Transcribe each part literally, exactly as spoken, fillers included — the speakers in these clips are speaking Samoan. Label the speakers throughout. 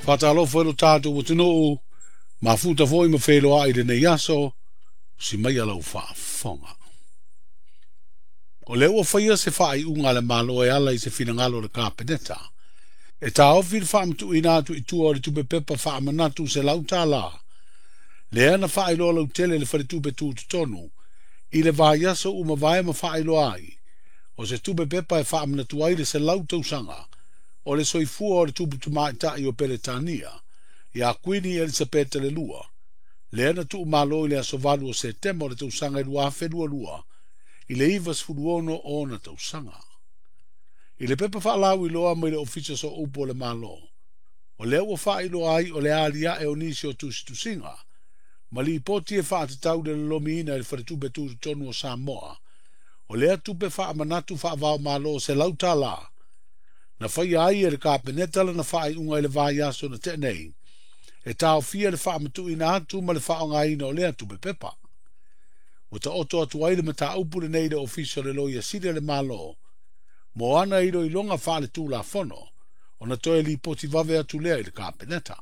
Speaker 1: Faatalofa i lo tatou atunuu, mafuta foi ma feiloai i lenei aso, si mai lau faafofoga. O lea ua faia se faaiuga a le Malo e ala i se finagalo o le Kapeneta. E taofi le faamatuuina atu i tua o le tupe pepa faamanatu selau tālā. Lea na faailoa lautele i le faletupe tutotonu i le vaiaso ua mavae ma faailoa ai. O se tupe pepa e faamanatu ai le selau tausaga o le soifua o le tupu tamaitai o Peretania, ia Kuini Elisapeta le Lua, lea na tuumalo i le aso valu o Setema o le tausaga e lua afe lua lua, i le iva sefulu ono ona tausaga. I le pepa faalauiloa mai le Ofisa Sooupu o le Malo, o lea ua faailoa ai o le aliae o nisi o tusitusiga, ma lipoti e faatatau le lolomiina i le faletupe tutotonu o Samoa, o lea tupe faamanatu faavaomalo selau tālā, na faia ai e le Kapeneta lana faaiuga i le vaiaso na tea nei, e taofia le faamatuuina atu ma le faaaogaina o lea tupe pepa. Ua taoto atu ai le mataupu lenei i le Ofisa o le Loia Sili a le Malo, mo ana iloiloga faaletulafono, ona toe lipoti vave atu lea i le Kapeneta.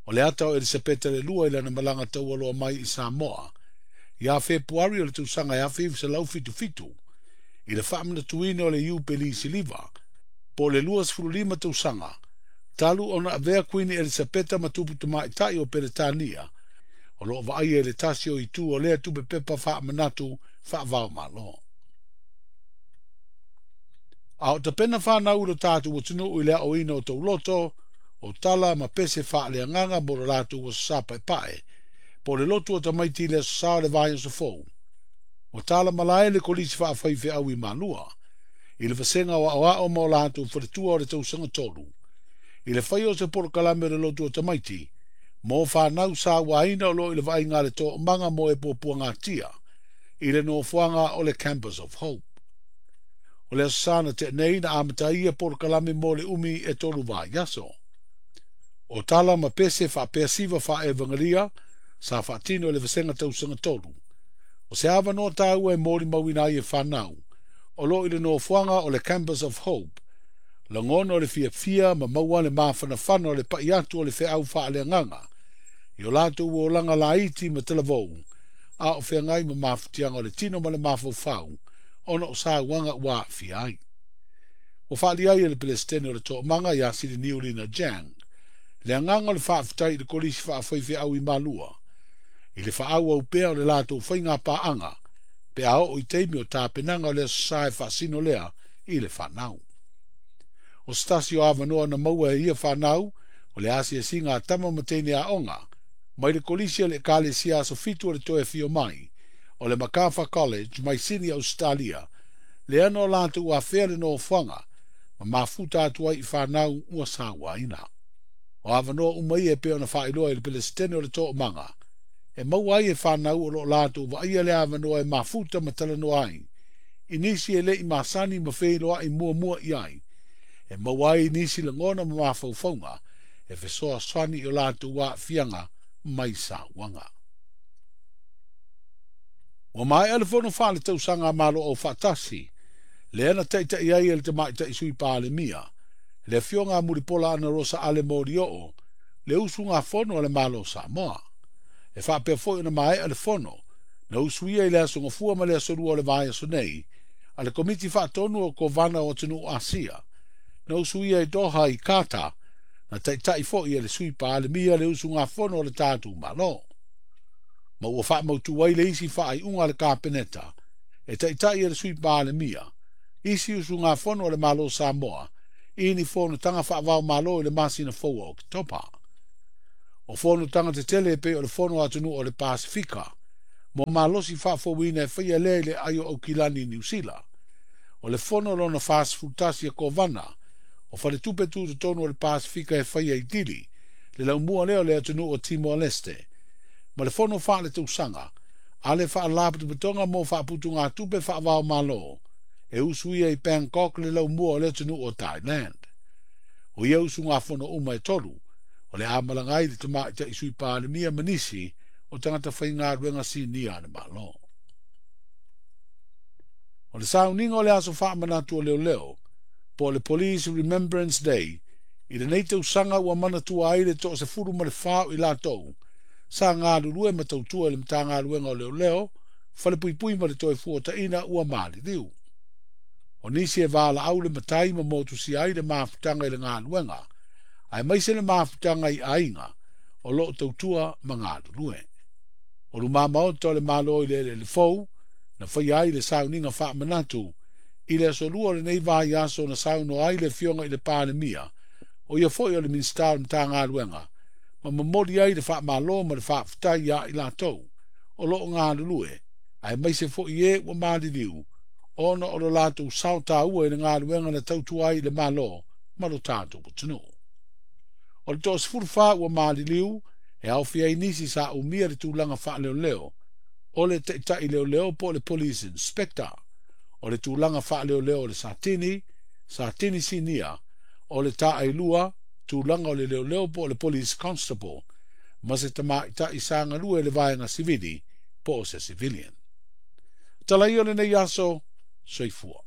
Speaker 1: O le ata o Elisapeta le Lua i lana malaga taualoa mai i Samoa, ia Fepuari o le tausaga e afe iva selau fitu fitu, i le faamanatuina o le Iupeli Siliva, po o le lua sefulu lima tausaga, talu ona avea Kuini Elisapeta ma tupu tamaitai o Peretania, o loo vaaia i le tasi o itu o lea tupe pepa faamanatu faavaomalo. A o tapena whanau i lo tātou atunuu i le aoina o tauloto, o tala ma pese faaleagaga mo lo latou aso Sa paepae, po le lotu o tamaiti i le aso Sa o le vaiaso fou. O tala malae le kolisi faafaifeau i Malua, i le vasega o aoao ma o latou faletua o le tausaga tolu, i le fai o se polokalame o le lotu o tamaiti, mo whanau sa uaina o lo i le vaaiga a le toomaga mo e puapuagatia, i le nofoaga o le Campus of Hope. O le aso Sa na tea nei na amataia polokalame mo le umi e tolu vaiaso. O tala ma pese faapea siva faaevagelia sa faatino i le vasega tausaga tolu. O se avanoa taua e molimauina ai e whanau, o lo i le nofoaga o le Campus of Hope, lagona o le fiafia ma maua le mafanafana o le pai atu o le feau faaleagaga, i o latou olaga laiti ma talavou, a o feagai ma mafutiaga o le tino ma le mafaufau, ona o sauaga ua aafia ai. Ua faali ai e le Pelesitene o le Toomaga ia Sili Niulina Jang, le agaga o le faafetai i le kolisi faafaifeau i Malua, i le faaauau pea o le latou faiga paaga, pe a oo i taimi o tapenaga o le aso Sa e faasino lea i le whanau. O se tasi o avanoa na maua e ia whanau, o le asiasiga a tama ma teine aoga, mai le kolisi o le Ekalesia Aso Fitu o le Toe Afio Mai, o le Macarthur College mai Sini Australia, lea na o latou afea le nofoaga, ma mafuta atu ai i whanau ua sauaina. O avanoa uma ia e pei ona faailoa i le Pelesitene o le Toomaga, e maua ai e whanau o lo latou vaaia le avanoa e mafuta ma talanoa ai, i nisi e lei masani ma feiloai muamua i ai, e maua ai nisi lagona ma mafaufauga, e fesoasoani i o latou aafiaga mai sauaga. Ua maea le fono faaletausaga a Malo Aufaatasi, lea na taitai ai e le tamaitai sui Palemia, le afioga a Mulipola Anarosa Ale Molioo, le usugafono a le Malo o Samoa. E faapea foi ona maea le fono, na usuia i le aso Gafua ma le aso Lua o le vaiaso nei, a le Komiti Faatonu o Kovana o Atunuu Asia, na usuia i Doha i Kata, na taitai foi e le sui Palemia le usugafono o le tatou Malo. Ma ua faamautu ai le isi faaiuga a le Kapeneta, e taitai e le sui Palemia, isi usugafono o le Malo o Samoa, i ni fonotaga faavaomalo i le masina fou o Oketopa. O fonotaga tetele e pei o le fono a atunuu o le Pasifika, mo malosi faafouina e faia lea i le aai o Aukilani i Niu Sila. O le fono lona fasefulu tasi e Kovana, o faletupe tutotonu o le Pasifika e faia i Dili, le laumua lea o le atunuu o Timor-Leste, ma le fono faaletausaga, a le faalapotopotoga mo faaputugatupe faavaomalo, e usuia i Bangkok le laumua o le atunuu o Thailand. O ia usugafono uma e tolu, o le a malaga ai le tamaitai sui Palemia ma nisi o tagata faigaluega sinia a le Malo. O le sauniga o le aso faamanatu o leoleo, po o le Police Remembrance Day, I lenei tausaga ua manatua ai le toasefulu ma le fa o i latou sa galulue ma tautua i le Matagaluega o Leoleo, Falepuipui ma le Toefuataina ua maliliu. O nisi e valaau le matai ma motusia ai le mafutaga i le galuega, aemaise le mafutaga i aiga o loo tautua ma galulue. O luma maota o le Malo i le eleele fou, na faia ai le sauniga faamanatu i le aso lua o lenei vaiaso na saunoa ai le afioga i le Palemia, o ia foi o le Minisita o le Matagaluega, ma momoli ai le faamalo ma le faafetai ia i latou o loo galulue, aemaise foi e ua maliliu, ona o lo latou sao taua i le galuega na tautua ai i le Malo ma lo tatou atunuu. O le toasefulu fa ua maliliu e aofia ai nisi sa umia le tulaga faaleoleo, o le taitai leoleo po o le police inspector, o le tulaga faaleoleo o le Satini, Satini Sinia, o le Taailua, tulaga o le leoleo po o le police constable, ma se tamaitai sa galue i le vaega sivili po o se civilian. Tala ia o lenei aso, soifua.